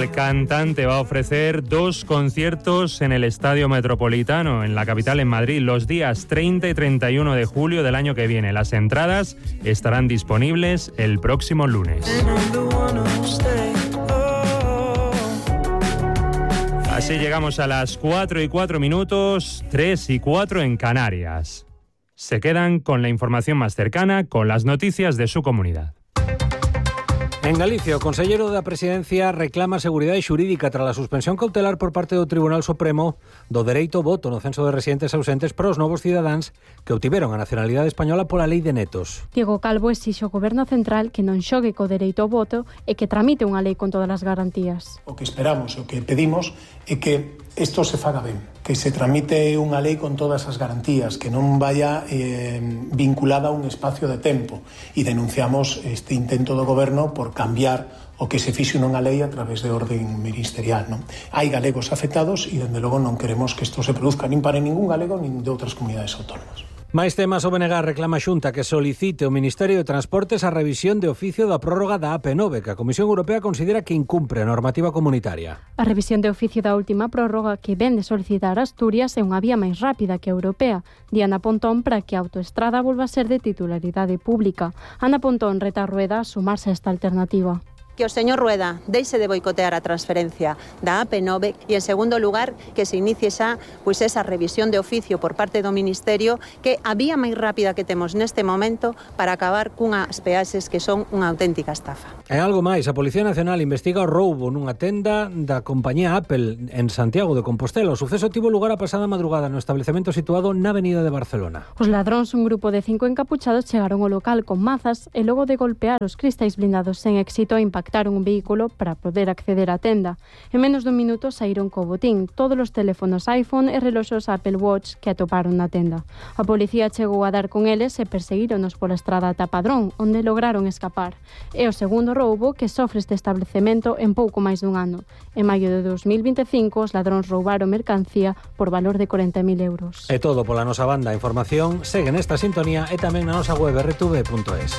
El cantante va a ofrecer 2 conciertos en el Estadio Metropolitano, en la capital, en Madrid, los días 30 y 31 de julio del año que viene. Las entradas estarán disponibles el próximo lunes. Así llegamos a las 4:04, 3:04 en Canarias. Se quedan con la información más cercana, con las noticias de su comunidad. En Galicia, o conselleiro da Presidencia reclama seguridade xurídica tras a suspensión cautelar por parte do Tribunal Supremo do dereito ao voto no censo de residentes ausentes para os novos cidadáns que obtiveron a nacionalidade española pola Lei de Netos. Diego Calvo exixe ao Goberno Central que non xogue co dereito ao voto e que tramite unha lei con todas as garantías. O que esperamos, o que pedimos é que isto se faga ben, que se tramite unha lei con todas as garantías, que non vaya vinculada a un espacio de tempo, e denunciamos este intento do Goberno por cambiar o que se fixe nunha lei a través de orden ministerial, non? Hai galegos afectados e, dende logo, non queremos que isto se produzca nin para ningún galego nin de outras comunidades autónomas. Máis temas. O BNG reclama a Xunta que solicite ao Ministerio de Transportes a revisión de oficio da prórroga da AP9, que a Comisión Europea considera que incumpre a normativa comunitaria. A revisión de oficio da última prórroga que ven de solicitar Asturias é unha vía máis rápida que a europea. Diana Pontón para que a autoestrada volva a ser de titularidade pública. Ana Pontón reta a Rueda a sumarse a esta alternativa. Que o señor Rueda deixe de boicotear a transferencia da AP9 e, en segundo lugar, que se inicie xa esa revisión de oficio por parte do Ministerio, que a vía máis rápida que temos neste momento para acabar cunhas peaxes que son unha auténtica estafa. E algo máis, a Policía Nacional investiga o roubo nunha tenda da compañía Apple en Santiago de Compostela. O suceso tivo lugar a pasada madrugada no establecemento situado na Avenida de Barcelona. Os ladróns, un grupo de 5 encapuchados, chegaron ao local con mazas e logo de golpear os cristais blindados sen éxito impactaron un vehículo para poder acceder á tenda. En menos dun minuto saíron co botín, todos os teléfonos iPhone e reloxos Apple Watch que atoparon na tenda. A policía chegou a dar con eles e perseguíronos pola estrada ata Padrón, onde lograron escapar. É o segundo roubo que sofre este establecemento en pouco máis dun ano. En maio de 2025, os ladróns roubaron mercancía por valor de 40.000 euros. É todo pola nosa banda. A información segue nesta sintonía e tamén na nosa web rtv.es.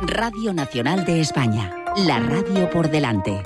Radio Nacional de España, la radio por delante.